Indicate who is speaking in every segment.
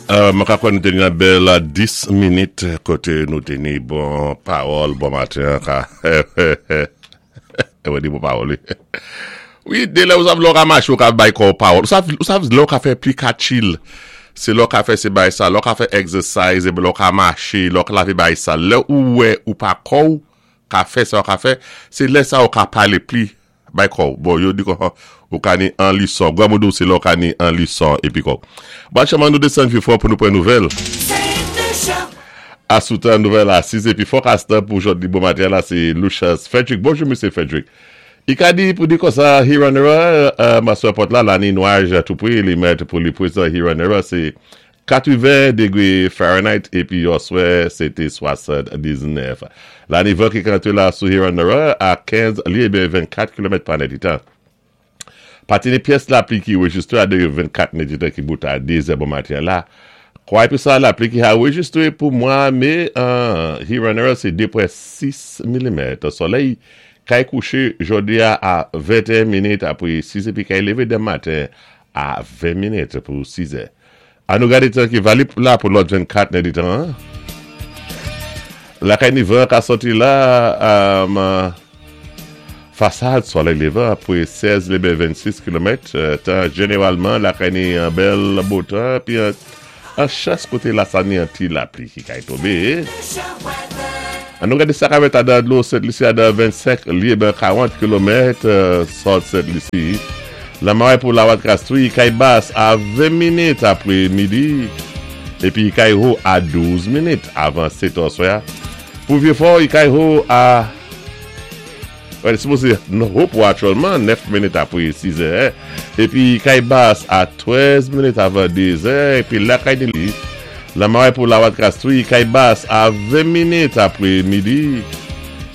Speaker 1: Mwen ka kwè nou te ni yon bèl 10 minit kote nou te ni bon pawòl bon maten an ka Mwen di bon pawòl wi. Wi, de lè ou sav lè ou ka mache ou ka bay kò ou pawòl. Ou sav, ou sav lè ou ka fè pli ka chill. Se lè ou ka fè se bay sa, lè ou ka fè exercise, lè ou ka mache, lè ou ka lave bay sa. Lè ou wè ou pa kò ou ka fè sa ou ka fè, se lè sa ou ka pale pli Bay kò w. Bon, yo di kon ou ka ni an lison. Granmoun di w se lè w ka ni an lison epi kò w. Bon, aktyèlman nou desann Vifò pou nou pran nouvèl. Asoutan nouvèl a 6 epi fòkas tan pou jodi bon maten an la se Lucius Frederick. Bonjou Mesye Frederick. I ka di pou di konsa Hiranera, maswè pòt la la ni nwaj tou pre li mèt pou li prezan Hiranera se 80 degre Fahrenheit epi yòswè se te 79. La ni van ki ka antre la sou Hiranara a 15 lye ebyen 24 kilomèt pa nèditan. Pati ni pyès lapli ki rejistre a degre 24 nèditan ki bout a 2 zè bon maten an la. Kwa epi sa lapli ki ha rejistre pou mwa me an Hiranara se 2.6 milimèt. Solèy kay kouche jodi a a 21 minit apre 6 epi kay leve demen maten a 20 minit pou 6 zè. An nou gade tan ki valip la pou lòt 24 nèditan an. Lakay ni van ka sòti la fasad solèy levan apre 16 leben 26 kilomèt tan jeneralman lakay ni an bèl bo tan epi an chans kote la sa ni an ti lapli ki kay tonbe. An nou gade sa ka mèt adan dlo Sent Lisi adan 25 lye ben 40 kilomèt sòt Sent Lisi. Lanmare pou Lawat Kastri, kay bas a 20 minit apre midi, epi kay ho a 12 minit avan 7 è swè. Pou Vyefò, kay ho a Wè, sipoze ho pou aktyèlman 9 minit apre 6 è, epi kay bas a 13 minit avan 2 zè, epi lakay Nili, Lanmare pou Lawat Kastri, kay bas a 20 minit apre midi,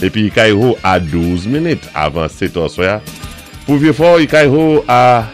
Speaker 1: epi kay ho a 12 minit avan 7 è swè. Pou Vyefò, kay ho a.